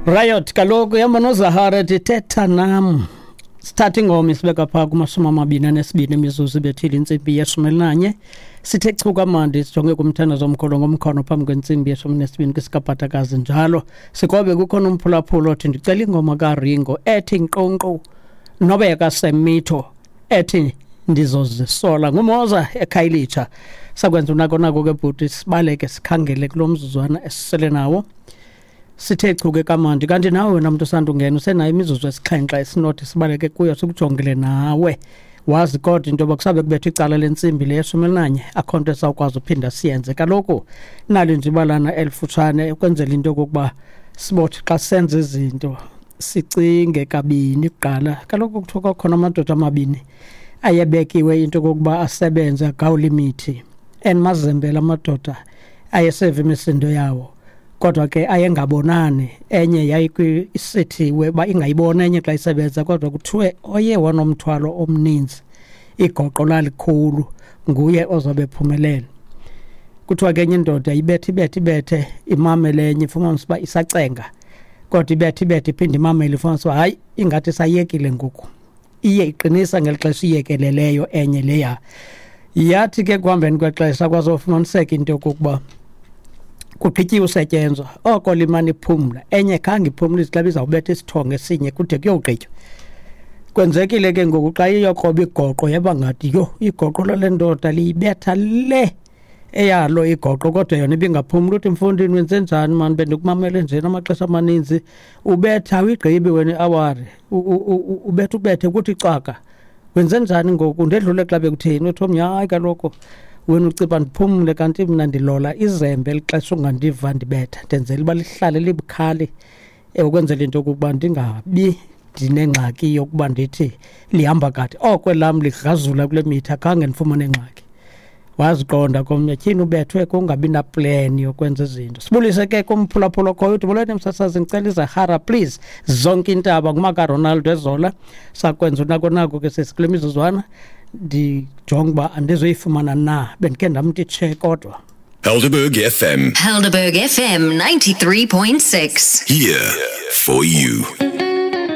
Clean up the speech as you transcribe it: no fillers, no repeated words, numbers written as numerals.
Riot kaloku ihamba noZahara ethi thetha nam. Sithatha ingoma isibeka phaa kumashumi amabini anesibini imizuzu ibethile intsimbi yeshumi elinanye. Sithe chu kamandi sijonge kumthandazo omkhulu ngomkhono phambi kwentsimbi yeshumi nesibini kwisikabhatakazi njalo. Sikwabe kukhona umphulaphula othi ndicela ingoma kaRingo ethi nkqonkqo nobe yakaSemitho ethi ndizozisola ngumoza ekhayelitsha. Sakwenza unako nako ke bhuti sibaleke sikhangele kulo mzuzwana esisele nawo. Sithe chu ke kamandi kanti nawe wena mntu usandungena usenayo imizuzu esixhenxe esinothi sibaleke kuyo sikujongele nawe. Wazi kodwa into yoba kusabe kubetha icala lentsimbi le yeshumi elinanye akho nto esawukwazi uphinda siyenze. Kaloku nali nje ibalana elifutshane ukwenzela into yokokuba sibothi xa senza izinto sicinge kabini kuqala. Kaloku kuthiwa kwakhona amadoda amabini ayebekiwe into yokokuba asebenze agawule imithi. And mazembela amadoda ayeseva imisindo yawo. Kodwa ke ayengabonani, enye yayisithiwe uba ingayibona enye xa isebenza, kodwa kuthiwe oye wanomthwalo omninzi igoqo lalikhulu nguye ozobe ephumelele. Kuthiwa ke enye indoda ibethe ibethe ibethe imamele enye ifumanise uba isacenga, kodwa ibethe ibethe iphinde imamele ifumanise uba hayi ingathi isayekile ngoku. Iye iqinisa ngeli xesha iyekeleleyo enye leya. Yathi ke kuhambeni kwexesha kwazofumaniseka into yokokuba kugqityiwe usetyenzwa, oko limane iphumla enye khange iphumle ithi xa izawubetha isithongo esinye kude kuyogqitywa. Kwenzekile ke ngoku xa iyokroba igoqo yaba ngathi yho igoqo lale ndoda liyibetha le eyalo igoqo, kodwa yona ibingaphumli. Uthi mfondini wenze njani mani, bendikumamele njena amaxesha amaninzi ubetha awuyigqibi wena iawari, ubetha ubethe kuthi cwaka. Wenze njani ngoku ndedlule xa bekutheni? Uthi omnye hayi kaloku wena uciba ndiphumle kanti mna ndilola izembe eli xesha ungandiva ndibetha, ndenzela uba lihlale libukhali ukwenzela into yokokuba ndingabi ndinengxaki yokuba ndithi lihamba kade. Oko elam ligrazula kule mitha khange ndifumane ngxaki. Waziqonda komnye tyhini ubethwe kungabi naplan yokwenza izinto. Sibulise ke kumphulaphula okhoyo uthi molweni msasazi ndicela izahara please zonke intaba ngumakaRonaldo ezola. Sakwenza unako nako ke sesi kule mizuzwana ndijonge uba andizoyifumana na, bendikhe ndamthi tshe kodwa. Helderberg FM. Helderberg FM 93.6. Here for you.